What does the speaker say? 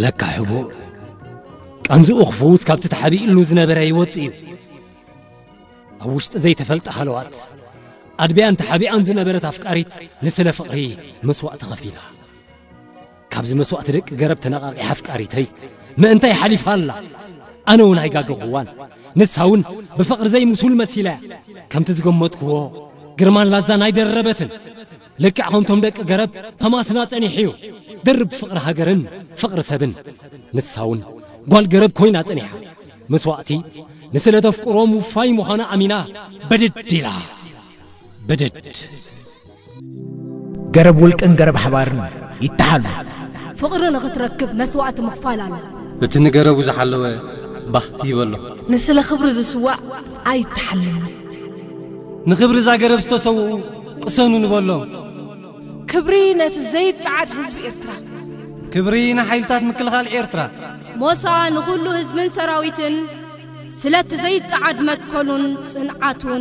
ለካ ሕቡእ፣ ቃንዝኡ ክፍውስ ካብቲ ተሓቢእሉ ዝነበረ ይወጽእ እዩ። ኣብ ውሽጢ ዘይተፈልጠ ሃለዋት ኣድብያን ተሓቢኣን ዝነበረት ኣፍቃሪት ንስለ ፍቕሪ መስዋእቲ ከፊላ። ካብዚ መስዋእቲ ደቂ ገረብ ተነቓቒሓ ኣፍቃሪተይ ምእንታይ ሓሊፋ ኣላ? ኣነ እውን ኣይጋገኹዋን። ንሳ እውን ብፍቕሪ ዘይምሱል መሲላ እያ። ከምቲ ዝገመትክዎ ግርማን ላዛን ኣይደረበትን። ልክዕ ከምቶም ደቂ ገረብ ተማስና ጸኒሑ እዩ። ድርብ ፍቕሪ ሃገርን ፍቕሪ ሰብን። ንሳ እውን ጓል ገረብ ኮይና ጸኒሓ። መስዋእቲ ንስለ ተፍቅሮ ምውፋይ ምዃና ኣሚና በደድ ኢላ። በደድ። ገረብ ውልቅን ገረብ ሓባርን ይተሓሉ። ፍቕሪ ንኽትረክብ መስዋእቲ ምኽፋል ኣሎ። እቲ ንገረቡ ዝሓለወ ባህ ይበሎ። ንስለ ክብሪ ዝስዋእ ኣይተሓልምን። ንኽብሪ እዛ ገረብ ዝተሰውኡ ቅሰኑ ንበሎም። ክብሪ ነቲ ዘይጸዓድ ህዝቢ ኤርትራ። ክብሪ ንሓይልታት ምክልኻል ኤርትራ። ሞሳ ንኹሉ ህዝብን ሰራዊትን ስለቲ ዘይጸዓድ መትከሉን ጽንዓቱን